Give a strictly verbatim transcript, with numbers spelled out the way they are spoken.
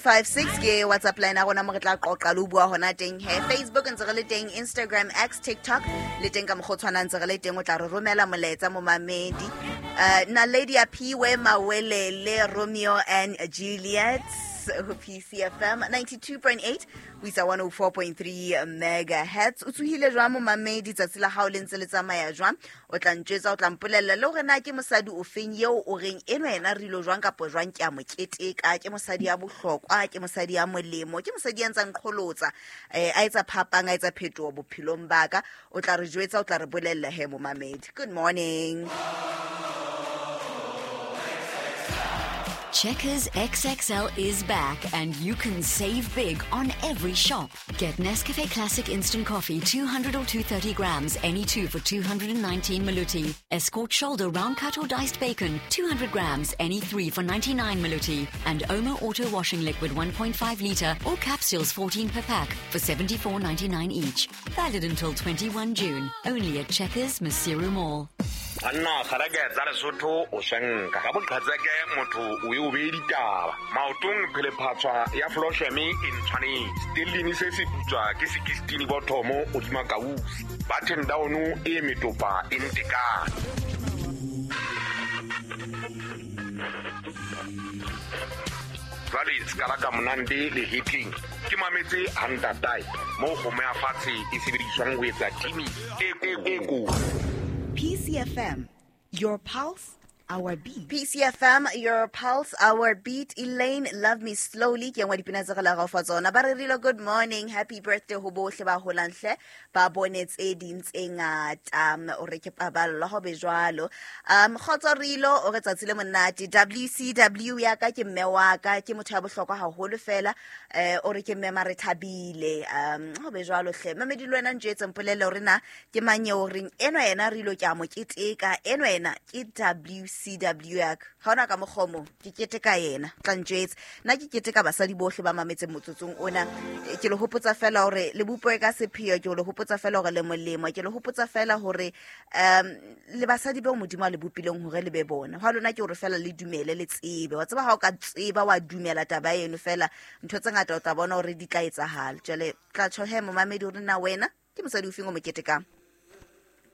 Five six ke WhatsApp line ya rona mo re tla qoqa le ho bua hona teng he. Facebook ntse re le teng, Instagram, X, TikTok le teng ka mokgwa o tshwanang ntse re le teng. O tla re romela molaetsa momamedi. Uh, Naledi Aphiwe Mawelele, Romeo and Juliet ho P C F M ninety-two point eight ho isa one oh four point three megahertz. O tsohile jwang momamedi, tsatsi la hao le ntse le tsamaya jwang? O tla ntjwetsa, o tla mpolella le hore na ke mosadi o feng eo o reng enwa yena re ilo jwang kapa jwang ke a mo keteka, ke mosadi ya bohlokwa, ke mosadi ya molemo, ke mosadi ya ntsang qholotsa, eh, a etsa phapang, a etsa phetoho bophelong ba ka. O tla re jwetsa, o tla re bolella he momamedi. Good morning. Checkers X X L is back and you can save big on every shop. Get Nescafe Classic Instant Coffee two hundred or two thirty grams, any two for two hundred and nineteen Maluti. Escort Shoulder Round Cut or Diced Bacon, two hundred grams, any three for ninety-nine Maluti. And Omo Auto Washing Liquid one point five litre or capsules fourteen per pack for seventy-four ninety-nine each. Valid until twenty-one June. Only at Checkers Maseru Mall. Anna kgareke tsa Lesotho o shenka ka boqhetseke motho o e o be ditaba maotong phelephatswa ya Flosheme e ntshwanetse stellini se se putswa ke sixteen bothomo o dima kausi button down e metopa e ntekane. Jwale ska la ka monande le hitling ke mametse hantatai mo kgomo ya fatshe e sebediswang ho etsa timi e e ko. P C F M, your pulse, our beat. P C F M, your pulse, our beat. Elaine, Love Me Slowly. Ke nngwe dipina tse re la fa tsona. Ba re rile good morning, happy birthday ho bohle ba holang hle, ba bone tse ding tse ngata. O re ke paballo ho be jwalo. Um, Kgotso Rilo, o re tsatsi le monate. W C W ya ka ke mme wa ka, ke motho ya bohlokwa haholo fela. Eh, o re ke mme mare thabile. Um, ho be jwalo hle. Mamedi le wena ntjetse mpolelle hore na ke mang eo reng enwa yena Rilo ke a mo keteka, enwa yena ke W C W ya ka. Ha hona ka mokgomo, ke keteka yena, tla ntjwetsa. Nna ke keteka basadi bohle ba mametseng motsotsong ona. Ke le hopotsa fela hore le bupuwe ka sepheo, ke le hopotsa fela hore le molemo, ke le hopotsa fela hore um le basadi bao Modimo a le bopileng hore le be bona. Hwa lona ke hore fela le dumele, le tsebe. Wa tseba ha o ka tseba wa dumela taba eno fela, ntho tse ngata o tla bona hore di tla etsahala. Jwale tla tjho he momamedi hore na wena ke mosadi o feng o mo ketekang?